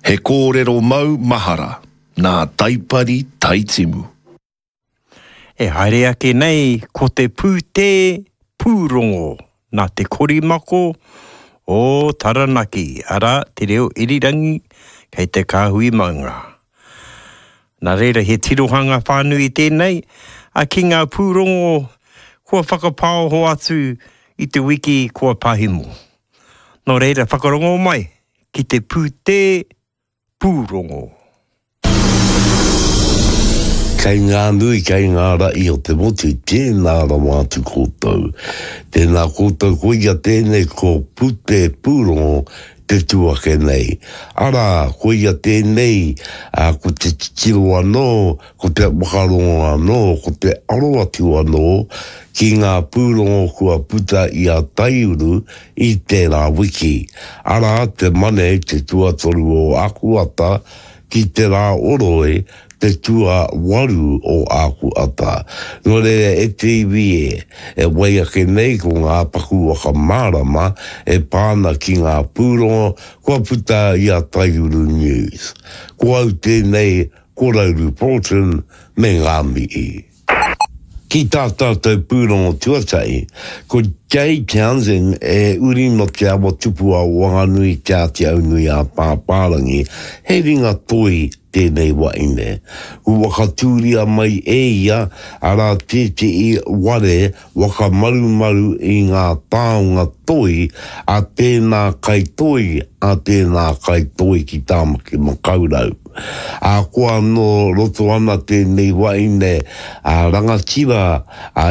He kōrero mau mahara nā Taipari Taitimu. E haere ake nei ko te pūtē pūrongo nā te korimako o Taranaki, arā, te reo irirangi kei te kāhui maunga. Nā reira he tirohanga whānui tēnei a ki ngā pūrongo kua whakapaoho atu i te wiki kua pahemo. Nō reira whakarongo mai ki te pūtē pūrongo. Kei ngā nui, kei ngā rahi o te motu, tēnā rawa atu koutou. Tēnā koutou, koia tēnei ko Pūtē Pūrongo te tū ake nei. Arā, koia tēnei, ā, ko te titiro anō, ko te whakarongo anō, ko te aro atu anō ki ngā pūrongo kua puta i a Taiuru i tērā wiki. Arā, te Mane, te tuatoru o Akuata, ki te rā oroi, te tuawaru o Akuata. Nō reira, e te iwi e, e wai ake nei ko ngā paku whakamārama e pā ana ki ngā pūrongo kua puta i a Taiuru News. Ko au tēnei, ko Rauru Broughton me ngā mihi. Ki tā tātou pūrongo tuatahi, ko Jay Townsend e uri nō Te Awa Tupua o Wanganui Te Āti Aunui-ā-Pāpārangi, he ringa toi tēnei wahine. Kua whakatūria mai e ia, arā tētehi ware whakamarumaru i ngā taonga toi a tēnā kaitoi, a tēnā kaitoi ki Tāmaki Makaurau. Ahakoa nō roto ana tēnei wahine a rangatira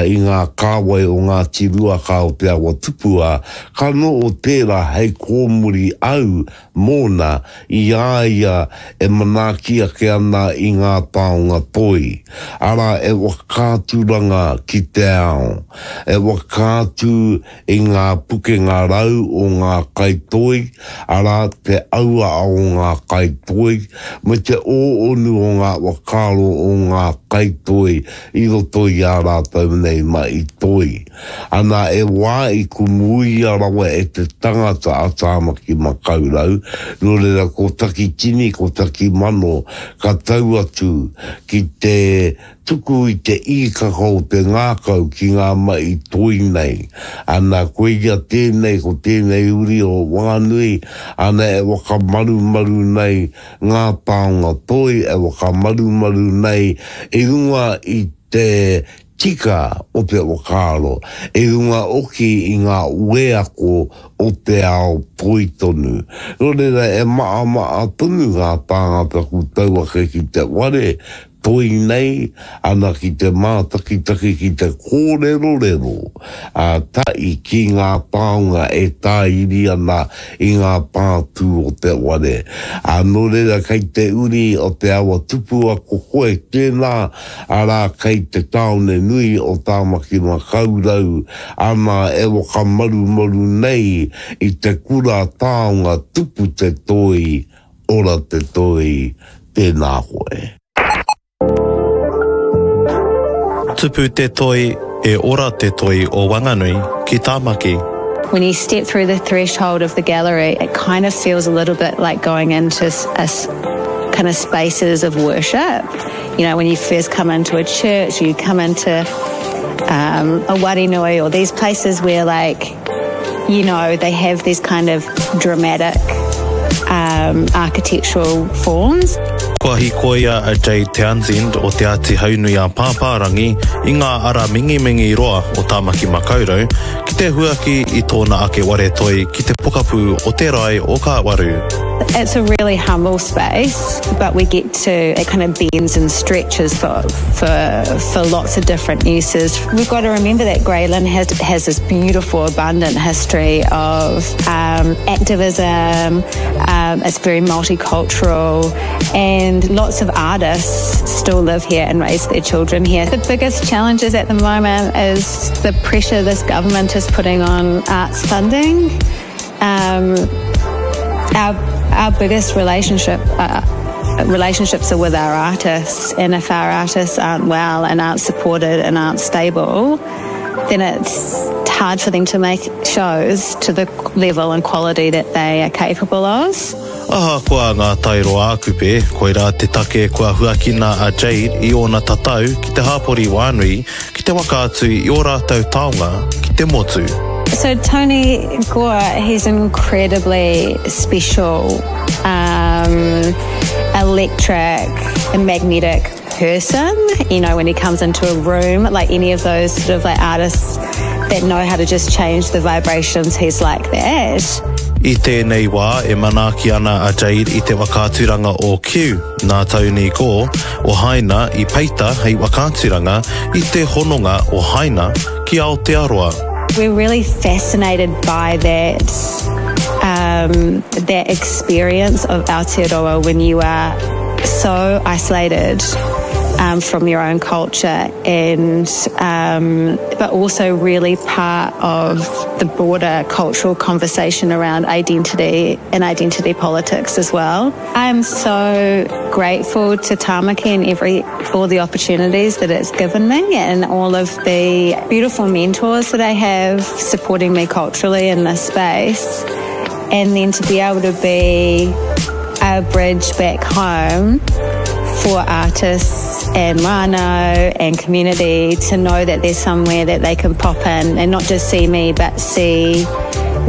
i ngā kāwai o Ngāti Ruaka o Te Awa Tupua, ka noho tērā hei kōmuri au mōna i a ia e manaaki ake ana i ngā taonga toi, arā e whakaaturanga ki te ao, e whakaatu i ngā pukenga rau o ngā kaitoi, arā te auaha o ngā kaitoi, me te ōonu o ngā whakaaro o ngā kaitoi i roto i ā rātou nei mahi toi. Ana e wā i kumuia rawa e te tangata a Tāmaki Makaurau, nō reira ko Takitini, ko Takimano ka tau atu ki te tuku i te īkaka o te ngākau ki ngā mahi toi nei. Ana koia tēnei, ko tēnei uri o Wanganui, ana e whakamarumaru nei ngā taonga toi, e whakamarumaru nei i runga i te tika o te whakaaro, i runga hoki i ngā wheako o te ao toi tonu. Nō reira, e maʻamaʻa tonu ngā tāngata ku tau ake ki te whare toi nei, ana ki te mātakitaki, ki te kōrerorero ā tahi ki ngā taonga e tāiri ana i ngā pātū o te whare. Ā, nō reira kei te uri o te awa tupua ko koe tēnā, arā kei te tāone nui o Tāmaki Makaurau, ana e whakamarumaru nei i te kura taonga tupu te toi, ora te toi, tēnā koe. Tupu te toi, e ora te toi o Wanganui ki Tāmaki. When you step through the threshold of the gallery, it kind of feels a little bit like going into a kind of spaces of worship. You know, when you first come into a church, you come into um, a warinui or these places where like, you know, they have these kind of dramatic um, architectural forms. Kua hīkoia a Jade Townsend o Te Āti Haunui a Pāpārangi i ngā ara mingimingi roa o Tāmaki Makaurau ki te huaki i tōna ake ware toi ki te pokapū o te rae o Kāwaru. It's a really humble space, but we get to, it kind of bends and stretches for, for, for lots of different uses. We've got to remember that Grey Lynn has, has this beautiful, abundant history of um, activism. Um, it's very multicultural, and lots of artists still live here and raise their children here. The biggest challenges at the moment is the pressure this government is putting on arts funding. Um, our, our biggest relationship uh, relationships are with our artists, and if our artists aren't well and aren't supported and aren't stable, then it's hard for them to make shows to the level and quality that they are capable of. Ahakoa ngā tairo ā-Kupe, koirā te take kua huakina a Jade i ōna tatau ki te hāpori wānui ki te whakaatu i ō rātou taonga ki te motu. So Tony Gore, he's incredibly special, um, electric and magnetic person. You know, when he comes into a room, like any of those sort of like artists that know how to just change the vibrations, he's like that. I tēnei wā e manaaki ana a Jade i te whakaaturanga o Q, nā Tony Gore, o Haina i peita hei whakaaturanga i te hononga o Haina ki Aotearoa. We're really fascinated by that, um, that experience of Aotearoa when you are so isolated um, from your own culture and um, but also really part of the broader cultural conversation around identity and identity politics as well. I am so grateful to Tamaki and every all the opportunities that it's given me and all of the beautiful mentors that I have supporting me culturally in this space and then to be able to be a bridge back home for artists and whānau and community to know that there's somewhere that they can pop in and not just see me but see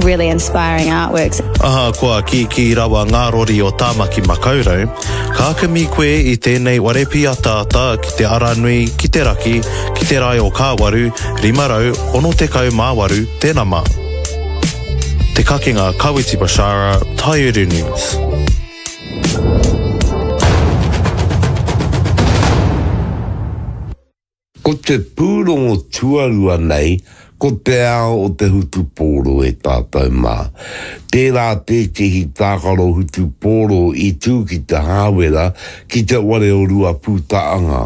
really inspiring artworks. Ahakoa kīkī rawa ngā rori o Tāmaki Makaurau, ka kimi koe i tēnei ware pīataata ki te aranui ki te raki ki te rae o Kāwaru 568 te nama. Te Kakenga Kawiti Bashara, Taiuru News. Ko te pūrongo tuarua nei, ko te ao o te hutupōro e tātou mā. Tērā tētehi tākaro hutupōro i tū ki Te Hāwera ki te ware o Ruapūtaanga.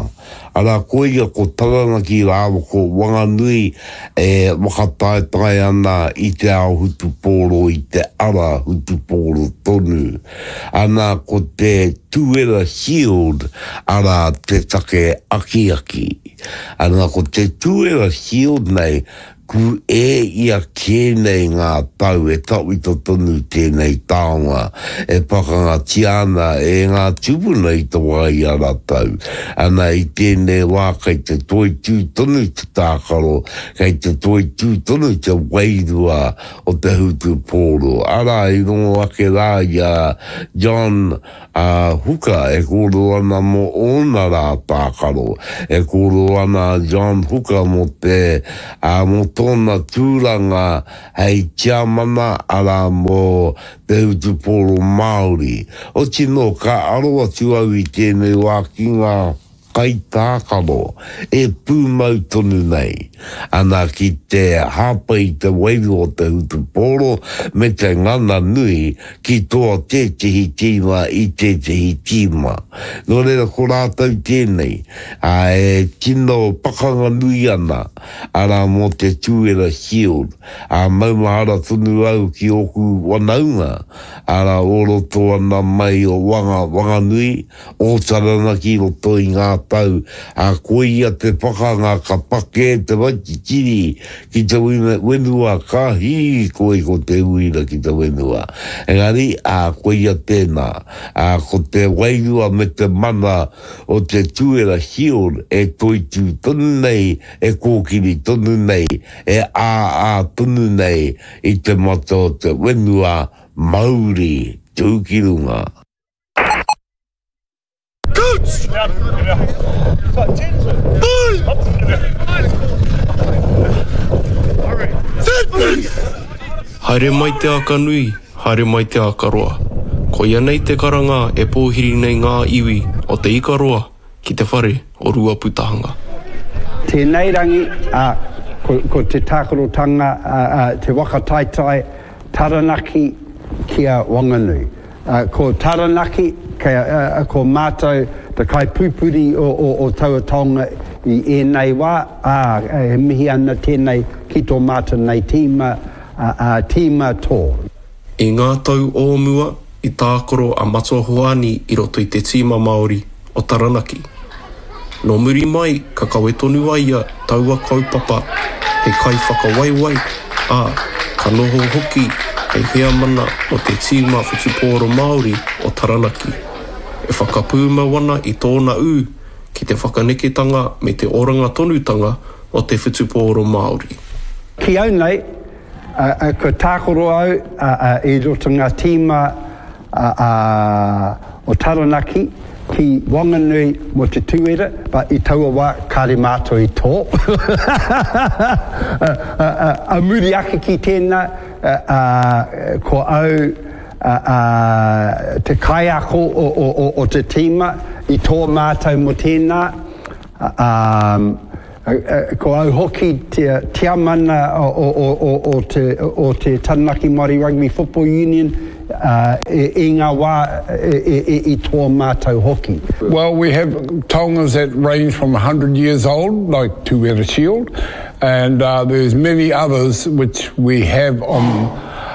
Arā, koia ko Taranaki rāua ko Wanganui e whakataetae ana i te ao hutupōro i te ara hutupōro tonu. Ana, ko te Tuera Shield arā te take akiaki. Ana, ko te Tuera Shield nei, Ku e ia kē nei ngā tau e tawhito tonu tēnei taonga e pakangatia ana e ngā tūpuna i te wā i a ratou. Ana i tēnei wā kei te toitū tonu te tākaro, kei te toitū tonu te wairua o te hutupōro. Arā i rongo ake rā i a John A Huka e kōrero ana mō ōna rā tākaro. E kōrero ana a John Huka mō te, ā, mō tōna tūranga hei tiamana, arā, mō te hutupōro Māori. Oti nō, ka aro atu au i tēnei wā ki ngā kaitākaro e pūmau tonu nei ana ki te hāpai i te wairua o te hutupōro me te ngana nui ki toa tētehi tīma i tētehi tīma. Nō reira ko rātou tēnei, ā, e tino pakanga nui ana, arā mō te Tūera Shield, ā, maumahara tonu au ki ōku wanaunga, arā, o roto ana mai o Wanga, Wanganui, o Taranaki i roto i ngā tau, ā, koia te pakanga ka pakē te waititiri ki te whenua, ka hīkoi ko te uira ki te whenua. Engari, ā, koia tēnā, ā, ko te wairua me te mana o te Tuera Shield e toitū tonu nei, e kōkiri tonu nei, e āā tonu nei i te mata o te whenua, mauri tū ki runga. Haere mai te aka nui, haere mai te aka roa. Koia nei te karanga e pōhiri nei ngā iwi o Te Ikaroa ki te whare o Ruaputahanga. Tēnei rangi, ā, ko, ko te tākarotanga, ā, ā, te waka taetae Taranaki ki a Wanganui. Ko Taranaki, kei, ko mātou te kaipupuri o taua taonga i ēnei wā, ā, e mihi ana tēnei ki tō mātou nei tīma, ā, tīma tō. I ngā tau o mua, i tākaro a Matua Hoani i roto i te tīma Māori o Taranaki. Nō muri mai ka kawe tonu a ia taua kaupapa hei kaiwhakawaiwai, ā, ka noho hoki hei heamana mō te tīma whutupōro Māori o Taranaki, e whakapūmau ana i tōna ū ki te whakaneketanga me te oranga tonutanga o te whutupōro Māori. Ki au nei, kua tākaro au i roto ngā tīma o Taranaki ki Wanganui mō te Tūera, but i taua wā kāre mātou i tō. A muri ake ki tēnā, ko au te kaiako o te tīma i tō mātou mō tēnā. Ko au hoki te tiamana o te Taranaki Māori Rugby Football Union i ngā wā i toa mātou hoki. Well, we have taongas that range from 100 years old, like Tuwera Shield, and uh, there's many others which we have on,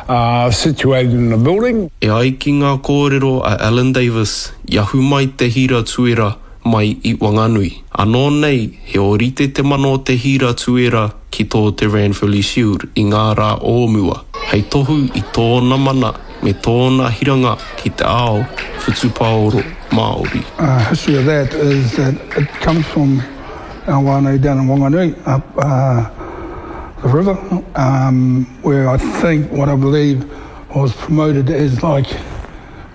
uh, situated in the building. E ai ki ngā kōrero a Alan Davis, i ahu mai te hira tuera mai i Wanganui. Anō nei, he ōrite te mana o te hīra tuera ki tō te Ranfurly Shield i ngā rā o mua, hei tohu i tōna mana me tōna hiranga ki te ao whutupaoro Māori. History of that is that it comes from our whānau down in Wanganui up the river where I think what I believe was promoted as like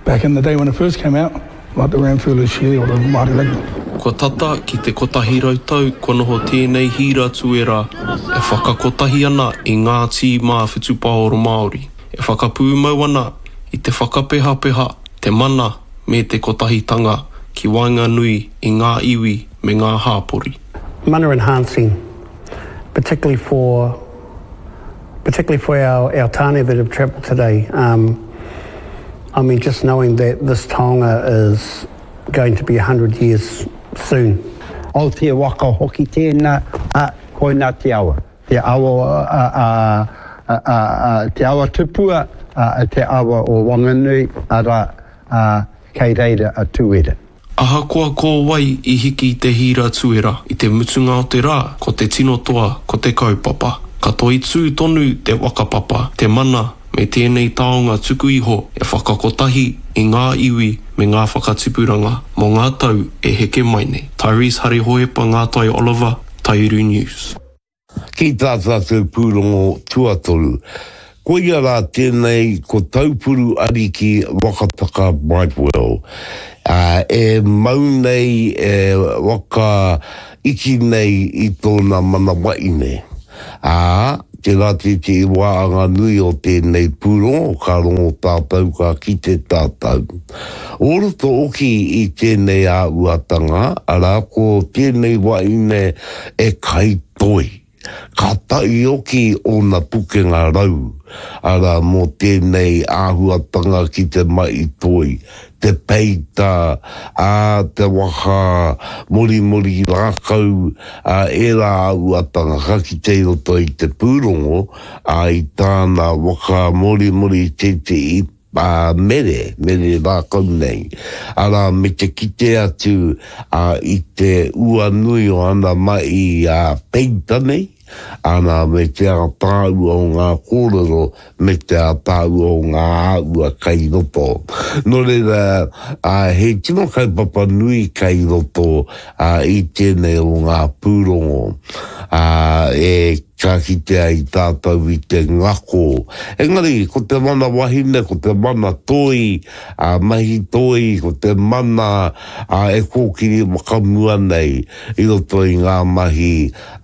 back in the day when it first came out. Mā te Ranfurly Shield o Māori Rugby. Kua tata ki te 100 tau kua noho tēnei hīra tuera e whakakotahi ana i ngā tīma whutupaoro Māori, e whakapūmau ana i te whakapehapeha, te mana me te kotahitanga ki waenganui i ngā iwi me ngā hāpori. Mana enhancing, particularly for particularly for our, our tāne that have travelled today. Um, I mean, just knowing that this taonga is going to be 100 years soon. Aotea waka hoki tēnā, ā, koinā te awa. Te awa, a, a, a, a, a, te awa tupua, a, te awa o Wanganui, arā, ā, kei reira a Tūera. Ahakoa ko wai i hiki i te hīra tuera, i te mutunga o te rā, ko te tino toa, ko te kaupapa. Ka toitū tonu te whakapapa, te mana, me tēnei taonga tuku iho e whakakotahi i ngā iwi me ngā whakatipuranga mō ngā tau e heke mai nei. Tyrese Hare Hohepa Ngātai Oliver, Taiuru News. Ki tā tātou pūrongo tuatoru, koia rā tēnei ko Taupuru Ariki Wakataka Brightwell, ā, e mau nei, e waka iti nei i tōna manawaine. Ā, tērā tētehi wāanga nui o tēnei pūrongo, ka rongo tātou, ka kite tātou. O roto hoki i tēnei āhuatanga, arā, ko tēnei wahine e kai toi, ka tahi hoki ōna pukenga rau, arā, mō tēnei āhuatanga ki te mahi toi, te peita, ā, te waka morimori rākau, ā, ērā āhuatanga ka kite i roto i te pūrongo, ā, i tāna waka morimori tētehi ā, mere, mere rākau nei, arā, me te kite atu, ā, i te ua nui o ana mahi, ā, peita nei, ana, me te ātaahua o ngā kōrero, me te ātaahua o ngā āhua kai roto. Nō reira, ā, he tino kaupapa nui kai roto, ā, i tēnei o ngā pūrongo, ā, e Ka kite ai tātou i te ngako. Engari, ko te mana wahine, ko te mana toi, ā, mahi toi, ko te mana, ā, e kōkiri whakamua nei i roto i ngā mahi,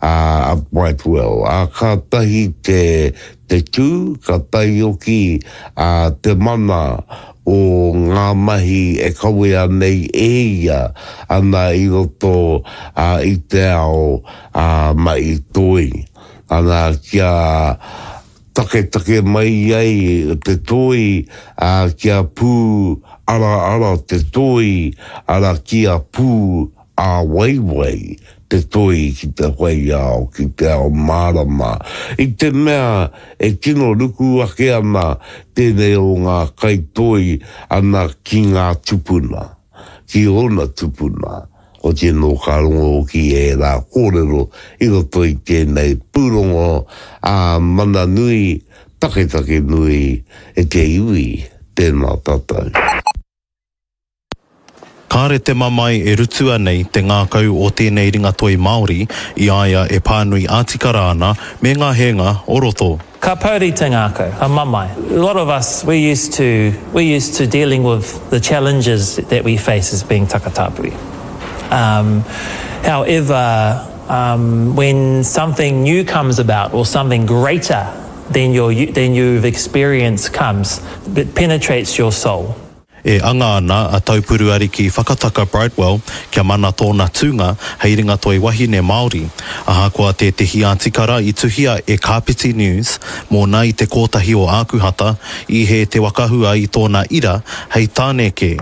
ā, a Brightwell. Ā, kātahi te, te tū, kātahi hoki, ā, te mana o ngā mahi e kawea nei e ia ana i roto, ā, i te ao, ā, mahi toi, ana, kia taketake mai ai te toi, ā, kia pū araara te toi, ara kia pū ā-waiwai te toi ki te whai ao, ki te ao mārama. I te mea e tino ruku ake ana tēnei o ngā kaitoi ana ki ngā tupuna, ki ōna tupuna. Oti anō ka rongo hoki ērā kōrero i roto i tēnei pūrongo, ā, mana nui, taketake nui e te iwi, tēnā tātou. Kāre te mamae e rutua nei te ngākau o tēnei ringatoi Māori i a ia e pānui ātikara ana me ngā hēnga o roto. Ka pouri te ngākau, ka mamae. A lot of us, we're used to, we're used to dealing with the challenges that we face as being takatāpui. Um, however, um, when something new comes about or something greater than, your, than you've experienced comes, it penetrates your soul. E anga ana a Taupuruariki Whakataka Brightwell kia mana tōna tūnga hei ringatoi wahine Māori, ahakoa tētehi ātikara i tuhia e Kāpiti News mōna i te kōtahi o Ākuhata, i hē te whakahua i tōna ira hei tāne kē.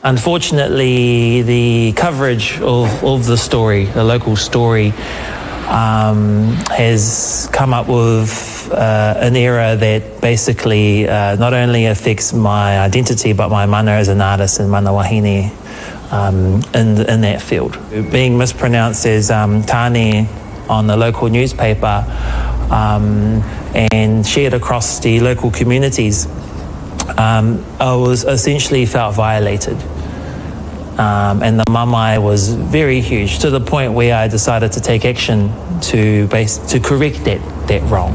Unfortunately the coverage of of the story, the local story, um, has come up with uh, an error that basically uh, not only affects my identity but my mana as an artist and mana wahine um, in, in that field. Being mispronounced as um, Tane on the local newspaper um, and shared across the local communities, um, I was essentially felt violated. Um, and the mamai was very huge to the point where I decided to take action to, base, to correct that, that wrong.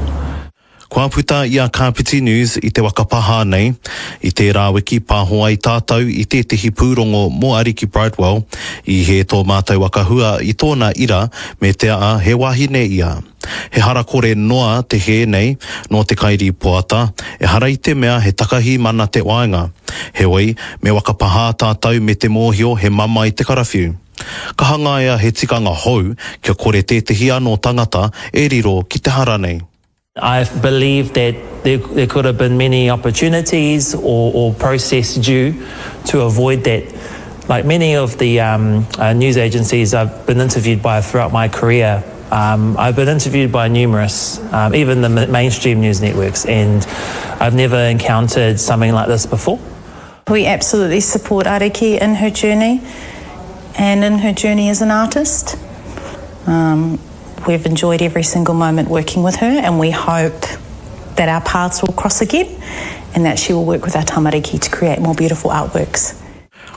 Kua puta i a Kāpiti News i te waka pahā nei, i tērā wiki pāho ai tātou i tētehi pūrongo mō Ariki Brightwell, i hē tō mātou waka hua i tōna ira me te aha he wahine ia. He harakore noa te hē nei nō te kairīpoata, ehara i te mea he takahi mana te waenga. Heoi, me waka pahā tātou me te mōhio he mamae te karawhiu. Ka hangaia he tikanga hou kia kore tētehi anō tangata e riro ki te hara nei. I believe that there, there could have been many opportunities or, or process due to avoid that. Like many of the um, uh, news agencies I've been interviewed by throughout my career, um, I've been interviewed by numerous, um, even the mainstream news networks, and I've never encountered something like this before. We absolutely support Ariki in her journey and in her journey as an artist. Um, we've enjoyed every single moment working with her and we hope that our paths will cross again and that she will work with our tamariki to create more beautiful artworks.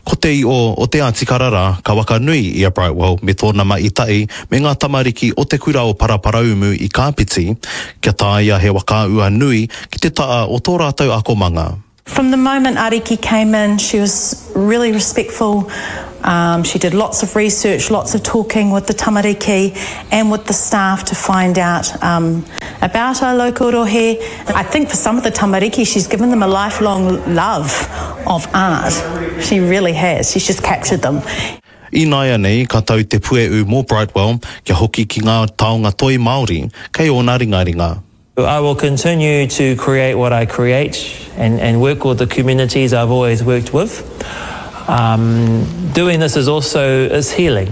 Ko te io o te atikara rā ka wakanui i a Brightwell me tōna maʻitaʻi me ngā tamariki o te kura o Paraparaumu i Kāpiti, kia tāia he wakaua nui ki te ta'a o tō rātou akomanga. From the moment Ariki came in, she was really respectful. Um, she did lots of research, lots of talking with the tamariki and with the staff to find out um, about our local rohe. I think for some of the tamariki, she's given them a lifelong love of art. She really has. She's just captured them. Ināianei ka tau te pue'u mō Brightwell kia hoki ki ngā taonga toi Māori kei ōna ringaringa. I will continue to create what I create and, and work with the communities I've always worked with. Um, doing this is also is healing.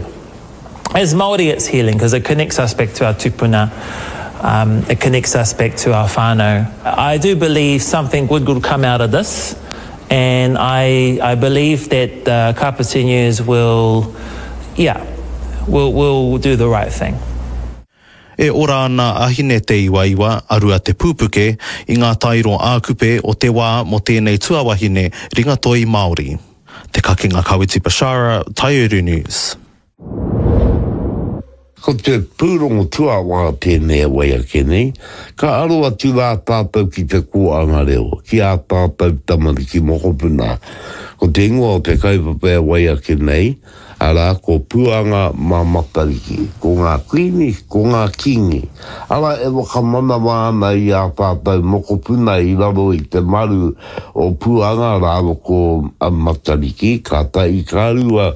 As Māori, it's healing because it connects us back to our tupuna. Um, it connects us back to our whānau. I do believe something good will come out of this. And I, I believe that the Kāpiti News will, yeah, will, will do the right thing. E ora ana a Hine Te Iwaiwa, a Rua Te Pūpuke, i ngā tairo ā-kupe o te wā mō tēnei tuawahine ringatoi Māori. Te Kakenga Kawiti Bashara, Taiuru News. Ko te pūrongo tuawā tēnei e wai ake nei, ka aro atu rā tātou ki te kōanga reo, ki ā tātou tamariki mokopuna. Ko te ingoa o te kaupapa e wai ake nei, Arā, ko Puanga mā Matariki, ko ngā kuini, ko ngā kīngi, arā, e whakamanawa ana i ā tātou mokopuna i raro i te maru o Puanga rāua ko Matariki, kātahi ka rua,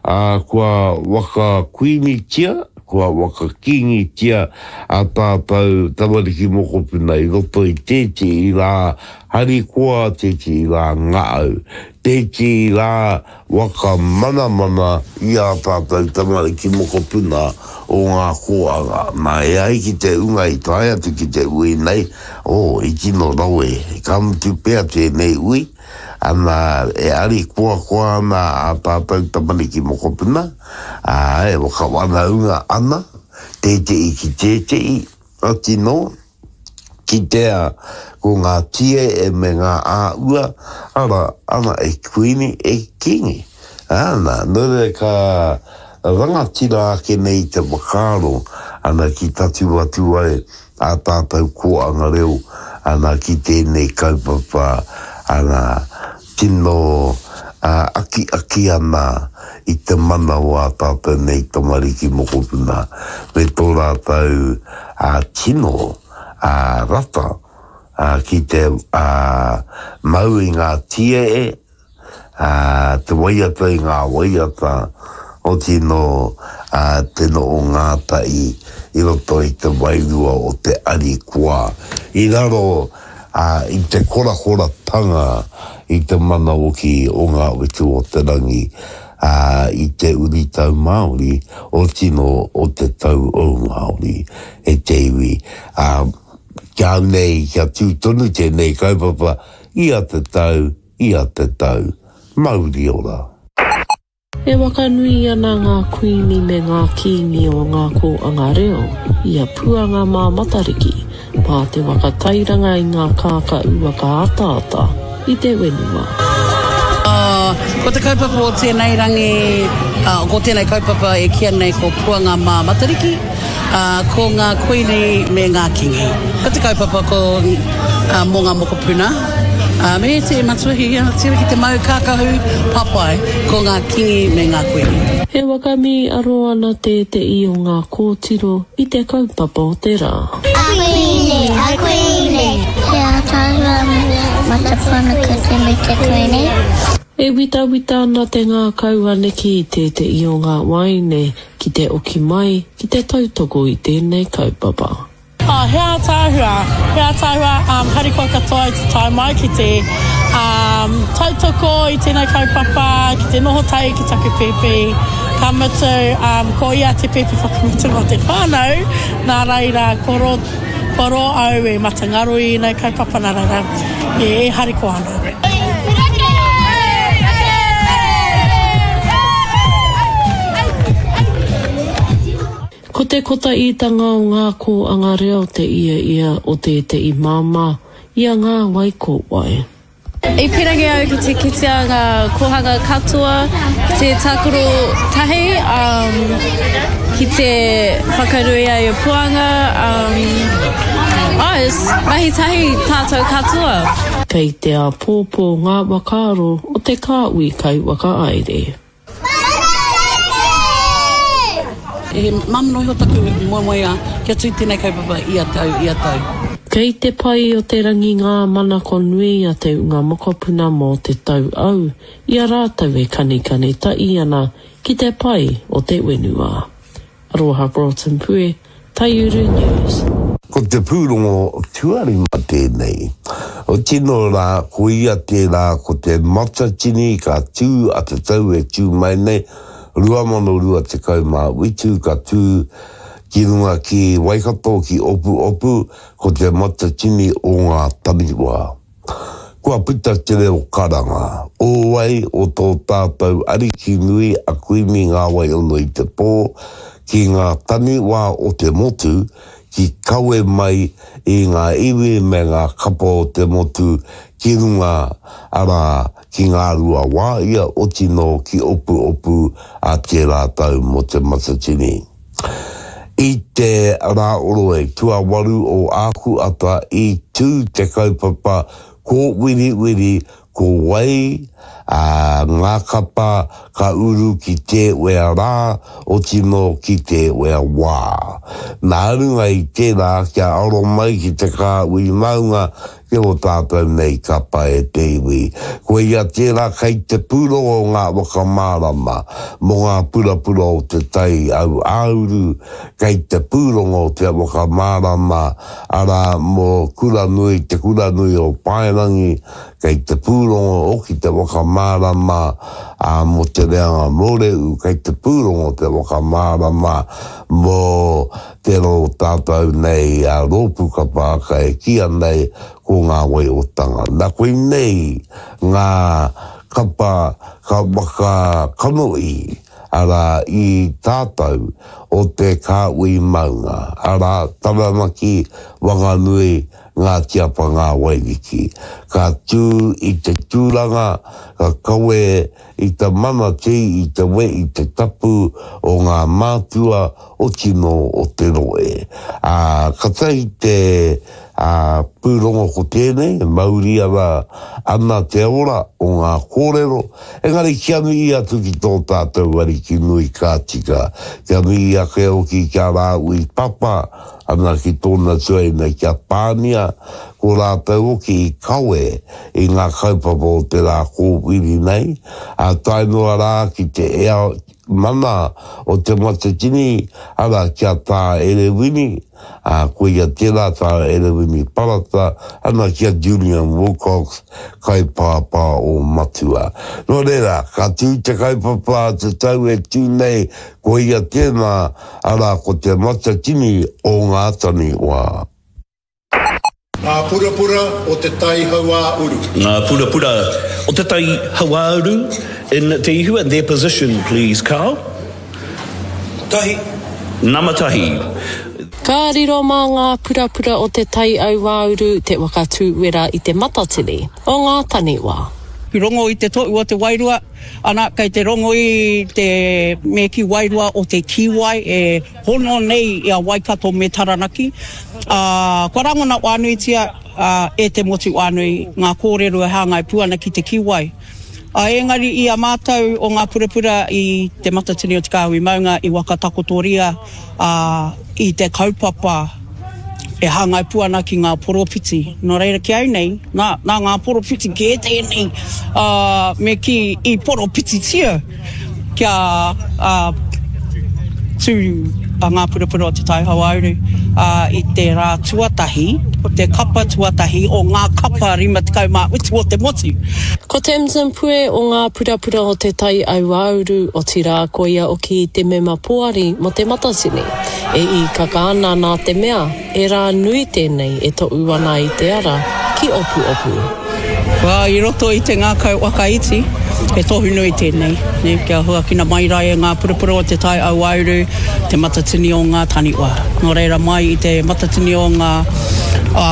ā, kua whakakuinitia, kua whakakīngitia ā tātou tamariki mokopuna i roto i tētehi rā harikoa, tētehi rā ngahau, tētehi rā Waka manamana i ā tātou tamariki mokopuna o ngā kōanga. Nā, e ai ki te unga i tae atu ki te ui nei, oh, i tino rawe, ka mutu pea tēnei ui, ana, e arikoakoa ana ā tātou tamariki mokopuna, ā, e whakawhanaunga ana, tētehi ki tētehi, oti nō. Kitea ko ngā tiee me ngā āua, ara, ana e kuini, e kingi. Ana, nō reira ka rangatira ake nei te whakaaro, ana ki tatū atu ai ā tātou kōanga reo, ana ki tēnei kaupapa, ana, tino akiaki ana i te mana o ā tātou nei tamariki mokopuna me tō rātou tino rata ki te mau i ngā tiee, te waiata i ngā waiata, otinō te noho ngātahi i roto i te wairua o te arikoa i raro ā, i te korakoratanga i te mana hoki o ngā whetū o te rangi, ā, i te uritau Māori, otinō o te tau ou Māori, e te iwi, ā, kia nei, kia tū tonu tēnei kaupapa ia te tau, ia te tau. Mauri ora! E whakanui ana ngā kuini me ngā kīngi o ngā kōanga reo i a Puanga mā Matariki mā te whakatairanga i ngā kākā uwaka ataata i te whenua. Ko te kaupapa o tēnei rangi, ko tēnei kaupapa e kīia nei ko Puanga mā Matariki. Ā, ko ngā kuini me ngā kīngi. Ko te kaupapa ko, ā, mō ngā mokopuna, ā, me te matua ki, tira ki te mau kākahu papai, ko ngā kīngi me ngā kuini. E whakamīaro ana tēte'i o ngā kōtiro i te kaupapa o te rā. A kuini, a kuini. He ataahua matapana kete me te kuini. E witawita ana te ngākau a Nikki i tēte'i o ngā waeine ki te oki mai ki te tautoko i tēnei kaupapa. Oh, he ātaahua, he ātaahua, um, harikoa katoa i te tae mai ki te um, tautoko i tēnei kaupapa, ki te noho tahi ki taku pēpi. Ka mutu, um, ko ia te pēpi whakamutunga o te whānau, nā reira, kua ro, kua ro au e matangaro i ēnei kaupapa, nā reira, e, e harikoa ana. Ko te kotaitanga o ngā kōanga reo te ia ia o tētehi māmā i a Ngā Wai Ko Wai. I pirangi au ki te kitea ngā kōhanga katoa, ki te tākaro tahi, ki te whakaruia i a Puanga, oh, mahi tahi tātou katoa. Kei te āpōpō ngā whakaaro o te kāhui kaiwhakahaere. He māmā noa iho taku moemoeā kia tū tēnei kaupapa ia tau, ia tau. Kei te pai o te rangi ngā manako nui a te unga mokopuna mō te tau au i a rātou e kanikani tahi ana ki te pai o te whenua. Aroha Broughton Pue, Taiuru News. Ko te pūrongo tuarima tēnei. Otino rā, ko ia tērā ko te Matatini ka tū a te tau e tū mai nei, 2027 ka tū ki runga ki Waikato, ki Opuopu, ko te Matatini o ngā Taniwha. Kua puta te reo karanga, o wai o tō tātou Ariki nui a Kuini Ngāwai-ono-i-te-pō ki ngā taniwā o te motu ki kawe mai i ngā iwi me ngā kapa o te motu ki runga, arā, ki Ngāruawāia otinō ki Opuopu a tērā tau mō Te Matatini. I te Rāoroe tuawaru o Ākuata i tū te kaupapa kōwiriwiri ko wai ngā kapa ka uru ki te wea rā, otinō ki te wea wā. Nā runga i tērā kia aro mai ki te kāhui maunga Ki ō tātou nei kapa e te iwi. Koia tērā kei te pūrongo ngā whakamārama mō ngā purapura o te tai auāuru, kei te pūrongo te whakamārama, arā, mō Kuranui, Te Kuranui o Paerangi, kei te pūrongo hoki te whakamārama, ā, mō Te Reanga Mōrehu, kei te pūrongo te whakamārama mō Tērā o tātou nei a rōpū kapa haka e kīia nei ko Ngā Wai o Tanga. Nā koinei ngā kapa ka waka kanohi, arā, i tātou o te kāhui maunga, arā, Taranaki, Wanganui, Ngāti Apa Ngā Wairiki. Ka tū i te tūranga, ka kawe i te mana te i te we i te tapu o ngā mātua o tino o te rohe. Ā, katahi te, ā, pūrongo ko tēnei, e mauri ana ana te ora o ngā kōrero, engari kia mihi atu ki tō tātou Ariki nui ka tika, kia mihi ake hoki ki a Rāhui Papa, ana ki tōna tuaina ki a Pānia, ko rātou hoki i kawe i ngā kaupapa o te rā kōwhiri nei, ā, tae noa rā ki te ea mana o Te Matatini, arā, ki a Tā Erewini, ā, koia tērā Tā Erewini Parata, ana ki a Julian Wilcox, kaipāpā o Matua. Nō reira, ka tū te kaupapa a te tau e tū nei, koia tēnā, arā, ko Te Matatini o ngā Taniwha. Ngā purapura o Te Tai Hauāuru. Ngā purapura o Te Tai Hauāuru in Te Ihu and their position please Carl. Tahi. Nama tahi. Ka riro mā ngā purapura o Te Tai Auāuru te waka tūwera i te matatini o ngā taniwha. Rongo i te tohu o te wairua, ana, kei te rongo i te me kī wairua o te kīwai e hono nei i a Waikato me Taranaki, ā, kua rangona whānuitia e te motu whānui ngā kōrero e hāngai pū ana ki te kīwai. Ā, engari i a mātou o ngā purapura i Te Matatini o Te Kāhui Maunga i whakatakotoria i te kaupapa e hāngai pū ana ki ngā poropiti. Nō reira ki au nei, nā, nā ngā poropiti kē tēnei, ā, me kī i poropititia kia, ā, tū a Ngā Purapura o Te Tai Hauāuru, ā, i te rā tuatahi, o te kapa tuatahi o ngā kapa 57 o te motu. Ko Tamsin Pue o Ngā Purapura o Te Tai Auāuru, otirā koia oki te mema poari mō Te Matatini. E īkaka ana nā te mea, he rā nui tēnei e toʻu ana i te ara ki Opuopu. Well, i roto i te ngākau whakaiti, he tohu nui tēnei, nē, kia huakina mai rā e ngā purapura o Te Tai Auauru te matatini o ngā taniwha. Nō reira mai i te matatini o ngā,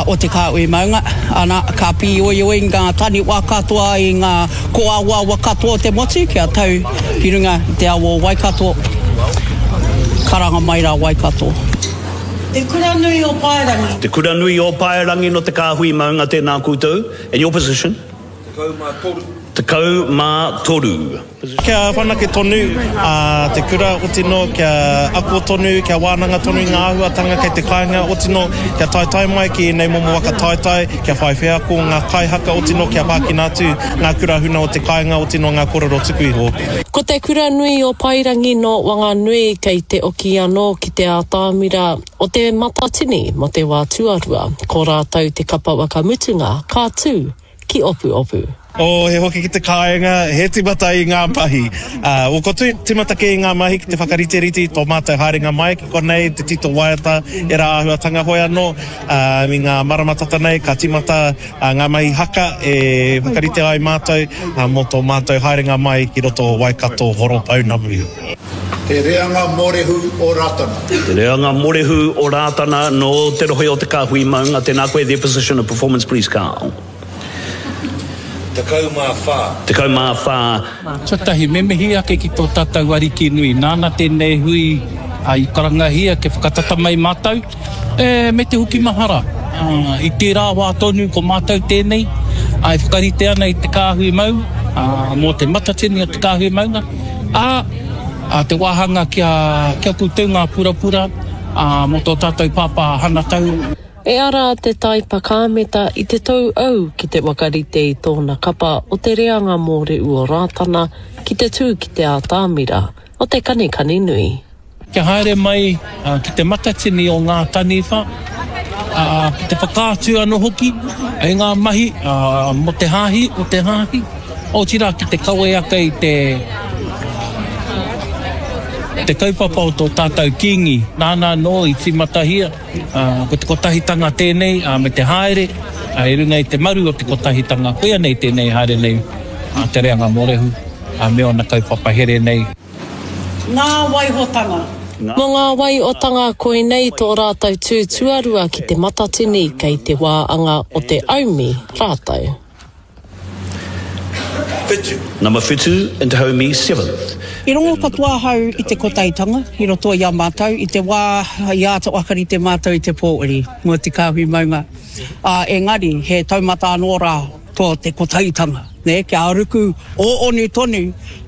o te kāhui maunga, ana, ka pīoioi ngā taniwha katoa i ngā kōawaawa katoa o te motu kia tau ki runga i te awa o Waikato, karanga mai rā Waikato. Te Kura Nui o Paerangi. Te Kura Nui o Paerangi no Te Kāhui Maunga tēnā koutou, and your position? 13. 13. Kia whanake tonu te kura, otino kia ako tonu, kia wānanga tonu i ngā āhuatanga kei te kāinga, otino kia taetae mai ki ēnei momo waka taetae, kia whai wheako ngā kaihaka, otino kia whākina atu ngā kura huna o te kāinga, otino ngā kōrero tuku iho. Ko te Kura Nui o Paerangi nō Wanganui kei te oki anō ki te ātamira o te Matatini mō te wā tuarua. Ko rātou te kapa whakamutunga ka tū ki Opuopu. Oh, he hoki ki te kāinga, he timata i ngā mahi. Uh, well, ko tu, timata kē i ngā mahi ki te whakariterite i tō mātou haerenga mai ki konei, te tito waiata, ērā āhuatanga hoi anō. Uh, i ngā marama tata nei, ka timata uh, ngā mahi haka e whakarite ai mātou uh, mō tō mātou haerenga mai ki roto o Waikato Horopounamu. Te reanga morehu o Ratana. Te reanga morehu o Rātana nō te rohe o Te Kāhui Maunga, tēnā koe, their position of performance please Carl. 14. 14. Tuatahi, me mihi ake ki tō tātou Ariki nui, nāna tēnei hui i karangahia kia whakatata mai mātou, e, me te hoki mahara. I tērā wā tonu ko mātou tēnei, e whakarite ana i te kāhui mau, mō te matatini o te kāhui maunga, ā, te wāhanga kia, kia koutou ngā purapura, ā, mō tō tātou pāpā Hanatau. E ara te taipa kāmeta i te tou au ki te whakarite i tōna kapa o te reanga mōrehu o Rātana ki te tū ki te ātamira o te kanikani nui. Kia haere mai ki te matatini o ngā taniwha, ki te whakaatu anō hoki i ngā mahi mō te hāhi, o te hāhi, otirā ki te kawe ake i te te kaupapa o tō tātou Kīngi, nāna anō i tīmatahia. Ko te kotahitanga tēnei, me te haere i runga i te maru o te kotahitanga, koia nei tēnei haere nei a Te Reanga Mōrehu me ōna kaupapa here nei. Ngā waihotanga. Mō ngā wai o Tanga koinei tō rātou tū tuarua ki Te Matatini kei te wā anga o te aumi rātou. Whitu. Number whitu and Te Haumi seventh. I rongo katoa ahau i te kotahitanga i roto i a mātou i te wā i āta whakarite mātou i te pōuri mō te kāhui maunga, ā, engari he taumata anō rā tō te kotahitanga, nē, kia ruku ōonu tonu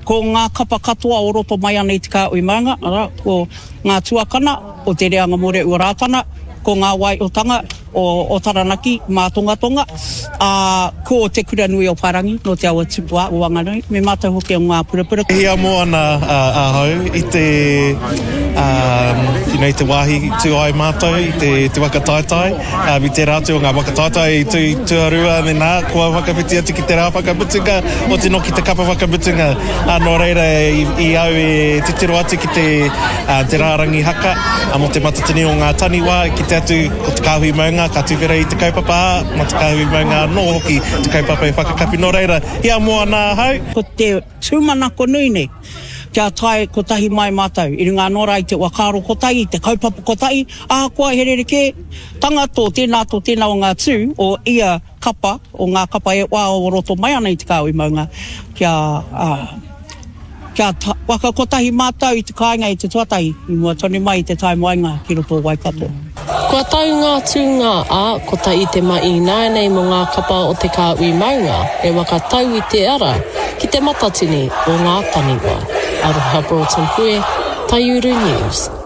ko ngā kapa katoa o roto mai ana i te kāhui maunga, arā, ko ngā tuakana o Te Reanga Mōrehu o Rātana, ko ngā waiotanga o Taranaki, Mātongatonga, ā, ko Te Kura Nui o Parangi nō Te Awa Tupua o Wanganui, me mātou hoki o Ngā Purapura. E hiamo ana ahau i te, you know, i te wāhi tū ai mātou i te, te waka taetae, i tērā atu o ngā waka taetae i tū tuarua me nā, kua whakawhiti atu ki te rā whakamutunga, oti noki te kapa whakamutunga. Nō reira, i, i au e titiro atu ki te, te rārangi haka mō Te Matatini o Ngā Taniwha, i kite atu ko Te Kāhui Maunga ka tuwhera i te kaupapa, ā, mā Te Kāhui Maunga anō hoki te kaupapa e whakakapi. Nō reira, hiamo ana ahau. Ko te tūmanako nui nei, kia tae kotahi mai mātou, i runga anō rā i te whakaaro kotahi, i te kaupapa kotahi, ahakoa he rerekē tanga tō tēnā, tō tēnā o ngā tū o ia kapa, o ngā kapa e wā o roto mai ana i Te Kāhui Maunga, kia, kia whakakotahi mātou i te kāinga i te tuatahi, i mua tonu mai i te tae moenga ki roto o Waikato. Kua tau ngā tūnga, ā, kotahi te ma ināianei mō ngā kapa o Te Kāhui Maunga e waka tau i te ara ki te matatini o ngā taniwha. Aroha Broughton Pue, Taiuru News.